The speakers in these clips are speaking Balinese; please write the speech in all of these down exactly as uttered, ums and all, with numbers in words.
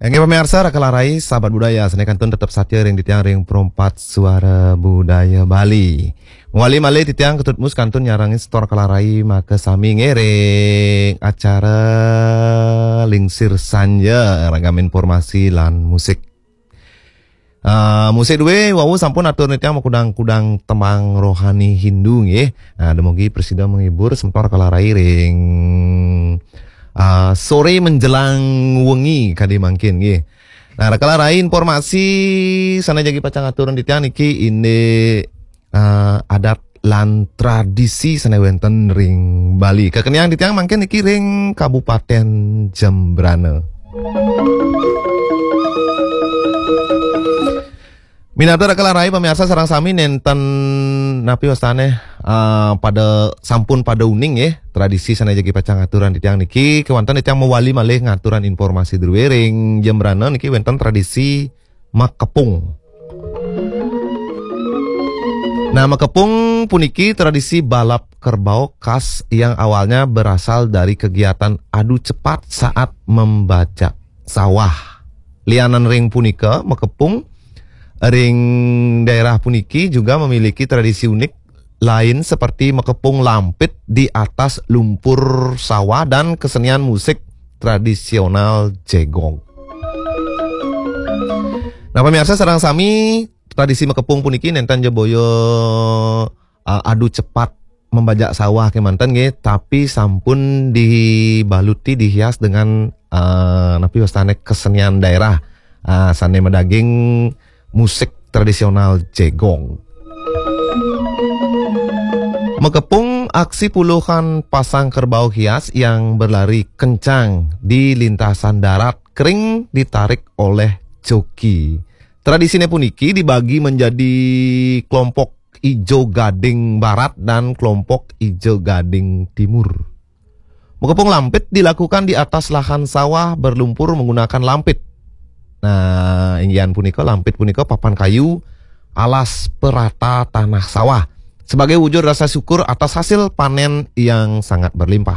Inggih pamiarsa, Raka Larai, sahabat budaya, sané kantun tetep satia ring titiang ring Perempat Suara Budaya Bali. Mawali malih titiang Ketut Mus kantun nyarengin semeton Raka Larai makasami nggih ring acara Lingsir Sanja, ragam informasi lan musik. Ah, musik dué wau sampun atur titiang makudang-kudang tembang rohani Hindu nggih. Nah, dumugi prasida menghibur semeton Raka Larai ring ah, sore menjelang wengi kadi mangkin nggih. Nah, Raka Larai, informasi sané jagi pacang aturang titiang niki indik ah, adat lan tradisi sané wénten ring Bali. Kakeniang titiang mangkin niki ring Kabupaten Jembrana. Minab Raka Larai, pamiarsa sareng sami, nénten napi wastané, ah, pada sampun pada uning nggih tradisi sané jagi pacang aturang titiang niki, kéwanten titiang mawali malih ngaturang informasi drué ring Jembrana niki wénten tradisi makepung. Nah, makepung puniki tradisi balap kerbau khas yang awalnya berasal dari kegiatan adu cepat saat membajak sawah. Lianan ring punika, makepung ring daerah puniki juga memiliki tradisi unik lain seperti makepung lampit di atas lumpur sawah dan kesenian musik tradisional jegog. Nah, pamiarsa sareng sami, tradisi makepung puniki nénten ja boya, uh, adu cepat membajak sawah kémanten nggih, tapi sampun dibaluti, dihias dengan, uh, napi wastané, kesenian daerah, uh, sané madaging musik tradisional jegog. Makepung aksi puluhan pasang kerbau hias yang berlari kencang di lintasan darat kering ditarik oleh joki. Tradisiné puniki dibagi menjadi kelompok Ijo Gading Barat dan kelompok Ijo Gading Timur. Makepung lampit dilakukan di atas lahan sawah berlumpur menggunakan lampit. Nah, inggihan punika, lampit punika papan kayu alas perata tanah sawah sebagai wujud rasa syukur atas hasil panen yang sangat berlimpah.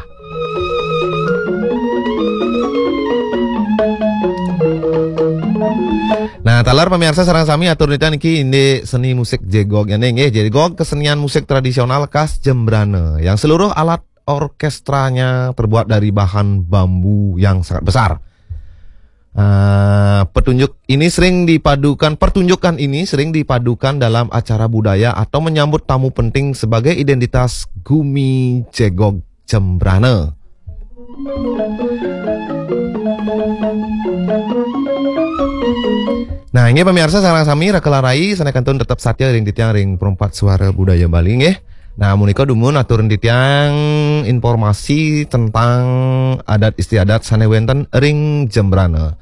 Nah, taler pamiarsa sareng sami, atur titiang niki indik seni musik jegog nggih. Jegog kesenian musik tradisional khas Jembrana yang seluruh alat orkestranya terbuat dari bahan bambu yang sangat besar. Ah, petunjuk ini sering dipadukan, pertunjukan ini sering dipadukan dalam acara budaya atau menyambut tamu penting sebagai identitas Gumi Jegog Jembrana. Nah, inggih pamiarsa sareng sami, Raka Larai sané kantun tetep satia ring titiang ring Perempat Suara Budaya Bali nggih. Nah, punika dumun aturang titiang informasi tentang adat istiadat sané wénten ring Jembrana.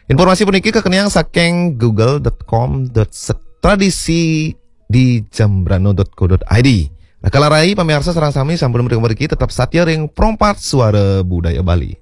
Informasi puniki kakeniang saking google dot com dot set tradisi di jembrana dot co dot id. Raka Larai, pamiarsa sareng sami, sampun mriki tetep satia ring Perempat Suara Budaya Bali.